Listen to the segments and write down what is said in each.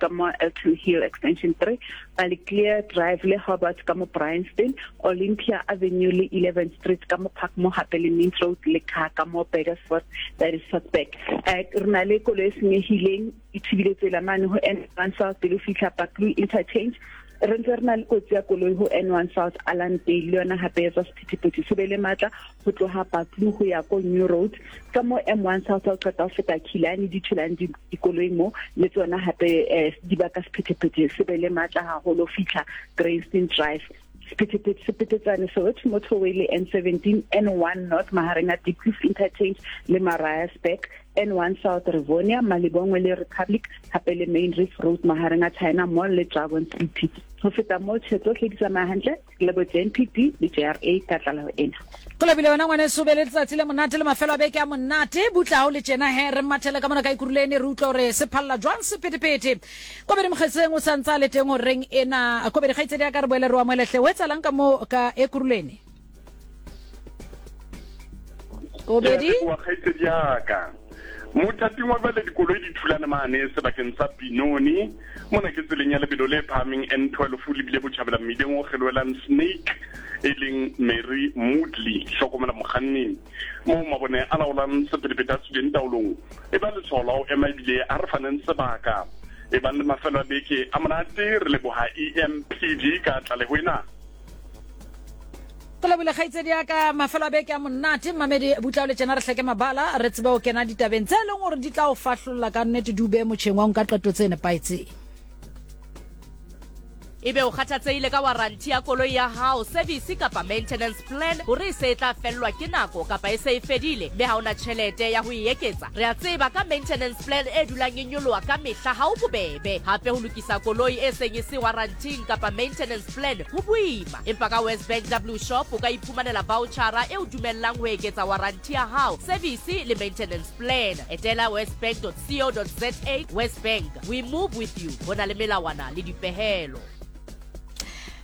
ka mo Elton Hill Extension 3, Ballyclear Drive le Hobart ka mo Bryanston, Olympia Avenue le 11th Street ka mo Parkmore hape le Mint Road le Car ka mo Burgersfort, that is Swartberg. Eh, re na le koloi e senyehileng e thibile tsela mane ho N1 South pele o fihla Buccleuch Interchange. Re ntse re na le kotsi ya koloi ho N1 South Allandale le yona hape e tswa sephethephethe se be le matla ho tloha Buccleuch ho ya ko New Road ka mo M1 South o qeta ho feta Killarney di thulang dikoloi mo le tsona hape eh, di baka sephethephethe se be le matla haholo fitlha Grayston Drive. Sephethephethe se petetsane Soweto Motorway le N17 N1 North mahareng a Diepkloof Interchange le Mariasburg, N1 South Rivonia, Malibongwe le Republic hape le Main Reef Road mahareng a China Mall le Dragon City. Ho feta moo, tjhe tsohle di tsamaya hantle le bo JNPD le JRA ka tlaleho ena. Go lebile wena ngwaneso, be le letsatsi le monate le mafelo a beke a monate. Butla ha o le tjena he, re mathele ka mona ka Ekurhuleni re utlwe hore se phalla jwang sephethephethe. Kobedi Mokgetseng o sa ntse a le teng horeng ena. Kobedi kgaitsedi ya ka re boele re o amohele hle. Ho etsahalang ka moo ka Ekurhuleni? Kobedi? Ke a leboha kgaitsedi ya ka. Mothating wa jwale dikoloi di thulane mane sebakeng sa Benoni. Mona ke tseleng ya lebelo le phahameng N12 o lebile botjhabela mmileng o kgelohelang Snake e leng Mary Moodley. Hlokomela mokganni. Moo mabone a laolang sephethephethe a tswileng taolong e ba letshwao la ho ema ebile a re faneng sebaka. E bang le mafelo a beke a monate. Re leboha EMPD ka tlaleho ena. Go lebile kgaitsedi ya ka mafelo a beke a monate mmamedi butla o le tjena re hleke mabala re tsebe go kena ditabeng tse e leng gore di tla o fahlolla ka nnete di o beye motšheng wa go nka qeto tse nepahetseng. Ebe o kgathatsehile ka warranty ya koloi ya hao, service kapa maintenance plan hore e se e tla fellwa ke nako kapa e se e fedile mme ha o na tjhelete ya ho e eketsa? Re a tseba ka maintenance plan e dulang e nyoloha ka mehla ha ho bobebe. Hape ho lokisa koloi e seng e se warranty-ing kapa maintenance plan ho boima. Empa ka WesBank W Shop o ka iphumanela vaotjhara e o dumellang ho eketsa waranti ya hao, service le maintenance plan. Etela wesbank.co.za. WesBank, we move with you. Ho na le melawana le dipehelo.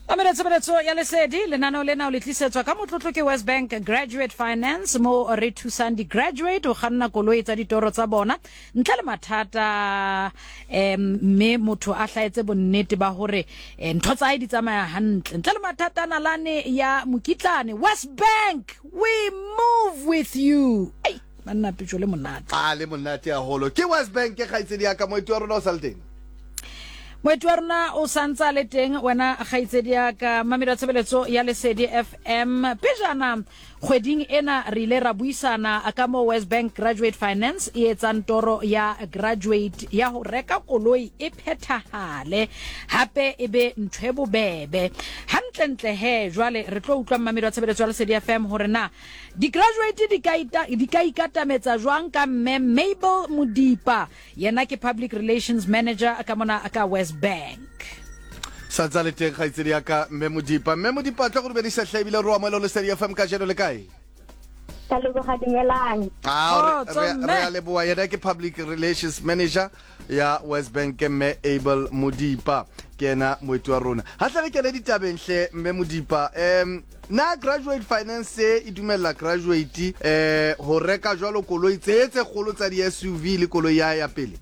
Mamela tshebeletso ya Lesedi, lenaneo lena o le tlisetswa ka motlotlo ke WesBank Graduate Finance, mo re thusang di-graduate ho kganna koloi tsa ditoro tsa bona ntle le mathata um mme motho a hlaetse bonnete ba hore eh, ntho tsa hae di tsamaya hantle ntle le mathata nalane ya mokitlane. West Bank, we move with you. Ei, banna pitso le monate. A le monate haholo ke West Bank. Ke kgaitsedi ya ka, moeti wa rona o sa le teng? Moeti wa rona o santse a le teng. Wena kgaitsedi ya ka mamedi wa tshebeletso ya Lesedi FM, pejana Kgweding ena re ile ra buisana ka moo WesBank Graduate Finance e etsang toro ya graduate ya ho reka koloi e phethahale hape e be ntho e bobebe. Hantlentle he jwale re tlo utlwa mmamedi wa tshebeletso ya Lesedi FM hore na di-graduate di ka ita, di ka ikatametsa jwang ka mme Mabel Modipa. Yena ke Public Relations Manager ka mona ka WesBank. Sa ntsa le teng kgaitsedi ya ka Mme Modipa. Mme Modipa, tlo go dumedisa hle ebile re o amohele ho Lesedi FM kajeno. Le kae? Ka leboga, dumelang. Ah, Kgotso, re mme. a leboa. Yena ke Public Relations Manager ya WesBank, ke Mme Abel Modipa. Ke yena moeti wa rona. Ha hle re kene ditabeng hle Mme Modipa. Um Na Graduate Finance e dumella graduate eh ho reka jwalo koloi tse tse kgolo tsa di-SUV le koloi ya ya pele?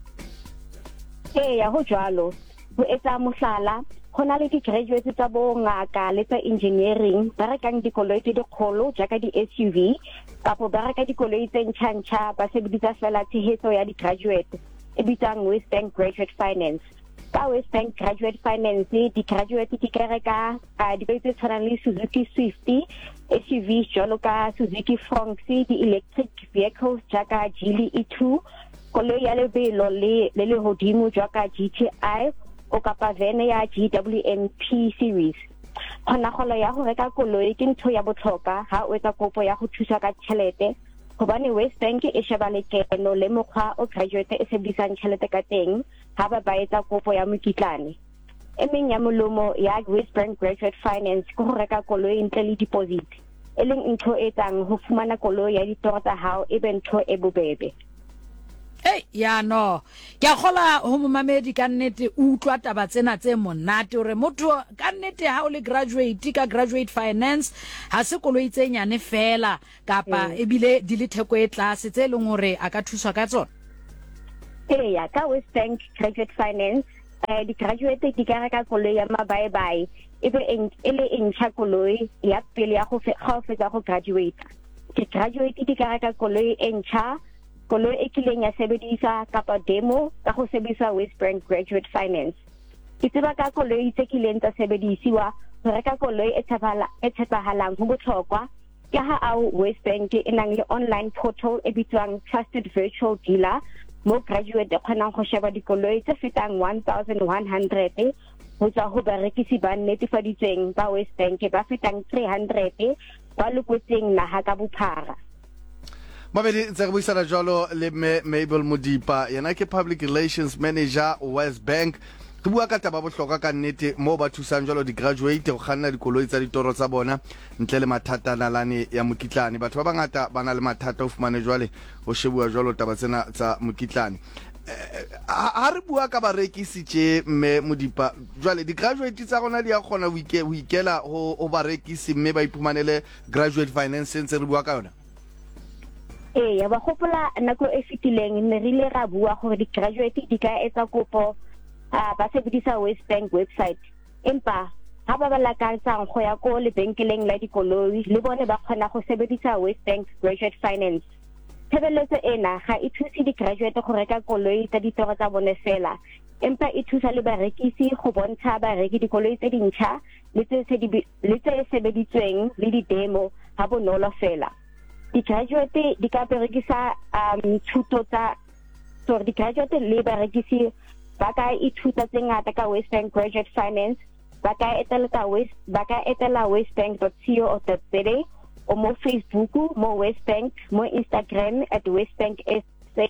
Eya, ho jwalo. Ho etsa mohlala, ho na le di-graduates tsa bongaka le tsa engineering ba rekang dikoloi tse dikgolo jaaka di-SUV kapo ba reka dikoloi tse ntjha-ntjha ba sebedisa fela tshehetso ya di-graduate e bitswang WesBank Graduate Finance. Ka WesBank Graduate Finance, di-graduate di ka reka dikoloi tse tshwanang le Suzuki Swift, SUVs jwalo ka Suzuki Fronx, di-electric vehicles jaaka Geely E2, koloi ya lebelo le le lehodimo jaaka GTI o kapa vene ya GWMP series. Kgonagalo ya go reka koloi ke ntho ya botlhokwa ha o etsa kopo ya go thuswa ka tšhelete gobane WesBank e sheba lekeno le mokgwa o graduate e sebedisang tšhelete ka teng ha ba ba etsa kopo ya mokitlane. E meng ya molomo ya WesBank Graduate Finance ke go reka koloi ntle le deposit, e leng ntho e etsang ho fumana koloi ya ditoro tsa hao e be ntho e bobebe. Hei, ya no. Ke a kgola ho momamedi ka nnete o utlwa taba tsena tse monate hore motho ka nnete ha o le graduate ka Graduate Finance ha se koloi tse nyane feela kapa ebile di le theko e tlase tse leng hore a ka thuswa ka tsona. Eya, ka WesBank Graduate Finance. Di-graduate di ka reka koloi ya mabaebae e be e le e ntšha koloi ya pele ya go ga o fetsa go graduate. Di-graduate di ka reka koloi e ntšha, koloi e kileng ya sebediswa kapa demo ka go sebedisa WesBank Graduate Finance. Ke tseba ka koloi tse kileng tsa sebedisiwa go reka koloi e e tshepahalang ho botlhokwa Ke ha ao WesBank e nang le online portal e bitswang Trusted Virtual Dealer mo graduate e kgonang go sheba dikoloi tse fetang 1100 go tswa ho barekisi ba netefaditsweng ba WesBank ba fetang 300 ba lokotseng naha ka bophara. Mabedi ntse re buisana jwalo le mme Mabel Modipa, yena ke Public Relations Manager WesBank. Re bua ka taba bohlokwa ka nnete moo ba thusang jwalo di-graduate go kganna dikoloi tsa ditoro tsa bona ntle le mathata nalane ya mokitlane. Batho ba bangata ba na le mathata o fumane jwale ho shebuwa jwalo taba tsena tsa mokitlane. Ha re bua ka barekisi tje mme Modipa, jwale di-graduate tsa rona di a kgona ho ikela ho barekisi mme ba iphumanele graduate finance ntse re bua ka yona? Eya, wa gopola nako e fetileng ne re ile ra bua gore di-graduate di ka etsa kopo ba sebedisa WesBank website, empa ha ba ba lakatsang go ya ko lebenkeleng la dikoloi le bone ba kgona go sebedisa WesBank Graduate Finance. Tshebeletso ena ga e thuse di-graduate go reka koloi tsa ditoro tsa bone fela, empa e thusa le barekisi go bontsha bareki dikoloi tse dintšha le tse sebeditsweng le di-demo ha bonolo fela. Di-graduate di ka berekisa thuto tsa sorry, di-graduate le barekisi ba ka ithuta tse ngata ka WesBank Graduate Finance. Ba ka etela West ba ka etela wesbank.co.za o mo Facebook mo WesBank, mo Instagram at WesBank SA,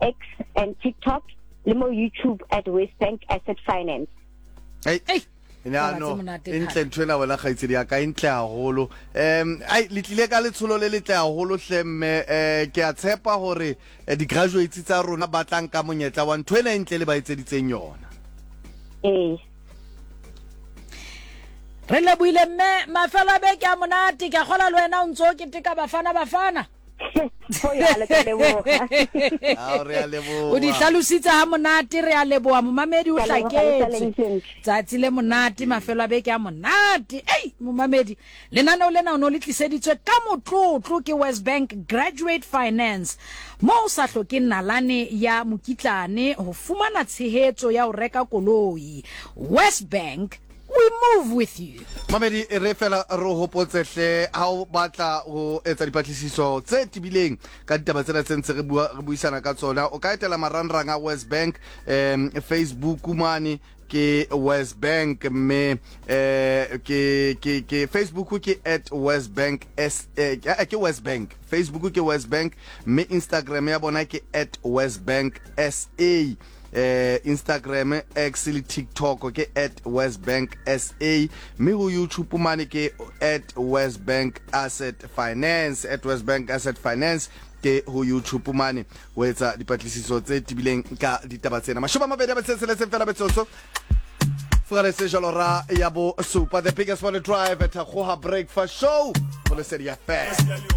X and TikTok le mo YouTube at WesBank Asset Finance. Hey. Ei. Ya Taba tse no, monate e ntle thata. ntho ena wena kgaitsedi ya ka, e ntle haholo. Ai le tlile ka letsholo le letle haholo hle mme, ke a tshepa hore di-graduates tsa rona ba tla nka monyetla wa ntho ena e ntle le ba etseditseng yona. Ee. Re lebohile mme, mafelo a beke a monate, ke a kgola le wena o ntso o keteka Bafana Bafana. Go jalo, ke a leboga. Ao, re a leboga. O di hlalositse ha monate, re a leboga momamedi, o Ke a leboga, le hlaketswe. saleng sentle. Tsatsi le monate, mafelo a beke a monate. Ei, momamedi, lenaneo lena o ne o le tliseditswe ka motlotlo ke WesBank Graduate Finance, mo o sa hlokeng nalane ya mokitlane ho fumana tshehetso ya ho reka koloi. WesBank, we move with you. Mamedi, e re fela re o hopotse hle, ha o batla ho etsa dipatlisiso tse tebileng ka ditaba tsena tse ntse re bua, re buisana ka tsona, o ka etela marangrang a WesBank, Facebook mane ke WesBank, mme ke, ke, ke Facebook ke at WesBank S, ke WesBank, Facebook ke WesBank, mme Instagram ya bona ke at WesBank SA. Instagram, X le TikTok ke at WesBank SA, mme ho YouTube mane ke at WesBank Asset Finance, at WesBank Asset Finance ke ho YouTube mane ho etsa dipatlisiso tse tebileng ka ditaba tsena. 20 a metso e tsheletseng fela metsotso furaletse jalo ra ya bo supa, the biggest morning drive at Thakgoha Breakfast Show go Lesedi FM.